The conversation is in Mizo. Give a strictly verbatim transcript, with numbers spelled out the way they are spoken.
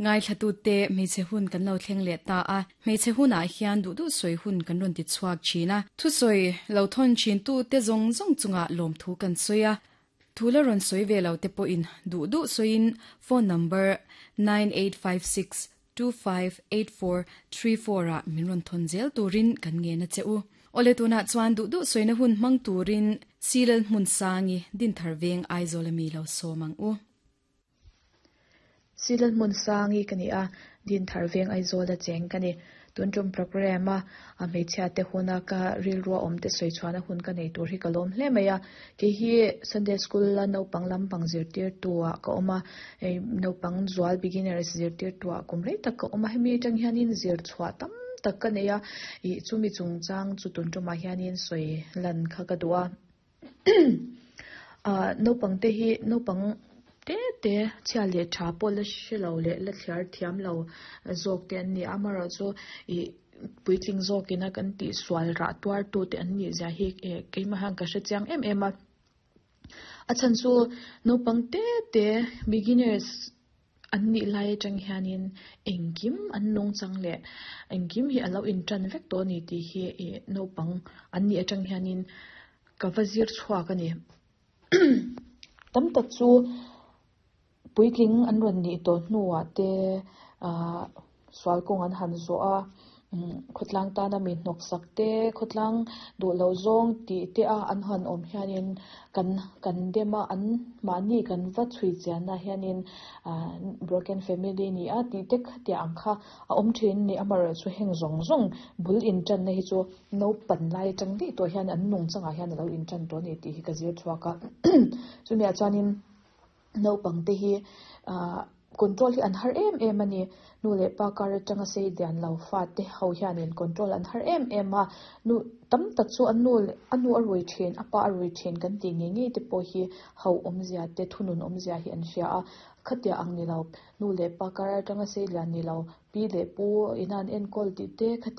Ngai thlatu te hmeichhe hun kan lo thleng leh ta a hmeichhe hunah hian duh duh sawi hun kan rawn ti chhuak thin a thusawi lo thawn thin tu te zawng zawng chunga lawm thu kan sawi a thu la rawn sawi ve lo te pawhin duh duh sawiin phone number nine eight five six two five eight four three four a min rawn thawn zel turin kan nge na che u ole tuna chuan duh duh sawina hun hmang turin silal hmun sangi din thar veng Aizawl ami lo sawmang u Silal hmun sangi kani a din thar veng Aizawl a cheng kani tun tum program a a hmeichhia te huna ka rilru awm te sawi chuan a hun ka nei tur hi ka lawm hle mai a ke hi Sunday school la naupang lampang zirtir tu ah ka awm a ei naupang zual beginners zirtir tu ah kum rei tak ka awm a hemi atang hianin zir chhuah tam tak ka nei a ih chumi chungchang chu tun tumah hianin sawi lan kha ka duh a ah naupang te hi naupang te te chhia leh tha pawh la hrelo leh la thliar thiam lo zawk te an ni a amaherawh chu ih puitling zawkin a kan tih sual rah tuar tu te an nih zia hi eh keimah hian ka hre chiang em em a a chhan chu naupang te te beginners an nih lai atang hianin engkim an nung chang leh engkim hi alo in tan vek tawh ani tih hi ih naupang an nih atang hianin ka va zir chhuak ani tam tak chu puitling an rawn nih tawh hnuah te ahh sual kawng an han zawh a umm khawtlang tana mi hnawk sak te khawtlang duh loh zawng tih te a an han awm hianin kan kan dem a an mahni kan va chhui chian ah hianin ahh broken family ni a tih te khatiang ang kha a awm thin ni amaherawh chu heng zawng zawng bul in tan na hi chu naupan lai atang daih tawh hian an nung changah hian alo in tan tawh ani tih hi ka zir chhuak a chumi ah chuanin naupang te hi ahh control hi an har em em ani nu leh pa kar atanga sei lian lo fa te ho hianin control an har em em a nu tam tak chu an nu a nu a rui thin a pa a rui thin kan tih ngei ngei te pawh hi ho awmzia te thunun awmzia hi an hria a khatia ang ni lo nu leh pa kar atanga sei lian ni lo pi leh pu ina an enkawl tih te khatia